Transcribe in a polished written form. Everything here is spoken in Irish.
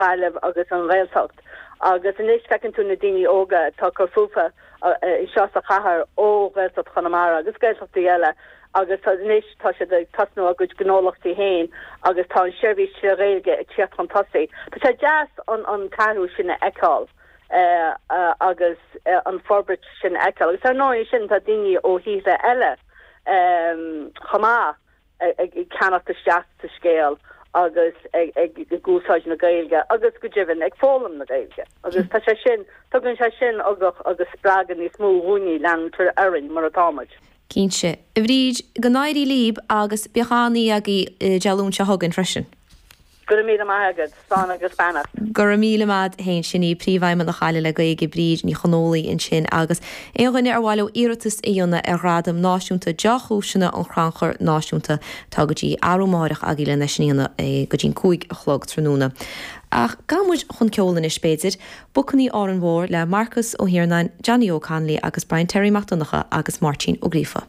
Gaillimh agus an Ghaeltacht agus anois feiceann tú na daoine óga atá ag cur fúthu anseo sa chathair ó Ghaeltacht Chonamara agus Gaeltachtaí eile agus anois tá siad ag tosnú a gcuid gnólachtaí féin agus tá an seirbhís tré Ghaeilge ag tíocht chun tosaigh. Tá sé deas an an t-athrú sin a fheiceáil agus an forbairt sin a fheiceáil agus ar ndóigh ansin tá daoine ó thíortha eile chomh maith ag ceannacht isteach sa scéal agus ag úsáid na Gaeilge agus go deimhin ag foghlaim na Gaeilge. Agus tá sé sin, tugann sé sin ugach agus spreagadh níos mó dhúinne leanúint orainn mar atá muid. Cinnte. A Bhríd, go n-éirí libh agus bíodh an-oíche agaibh Dé Luain seo chugainn freisin. Go raibh míle maith agat. Slán agus beannacht. Go raibh míle maith a't fhéin. Sin í Príomhfheidhmeannach Ghaillimh le Gaeilge, Bríd Ní Chonfhaola ansin agus aon dhuine ar mhaith leo iarratas a dhéanamh ar Ghradam Náisiúnta Deá-Chúiseanna an Chrannchuir Náisiúnta tá go dtí arú amáireach agaibh lena sin a dhéanamh go dtí an 5 a chlog tráthnóna. Ach gabhfaidh muid chun ceoil anois b'fhéidir. Bacainní Árainn Mhór le Marcus Ó hIarnáin, Johnny Óg Connolly agus Brian Terry Mac Donncha agus Máirtín Ó Gríofa.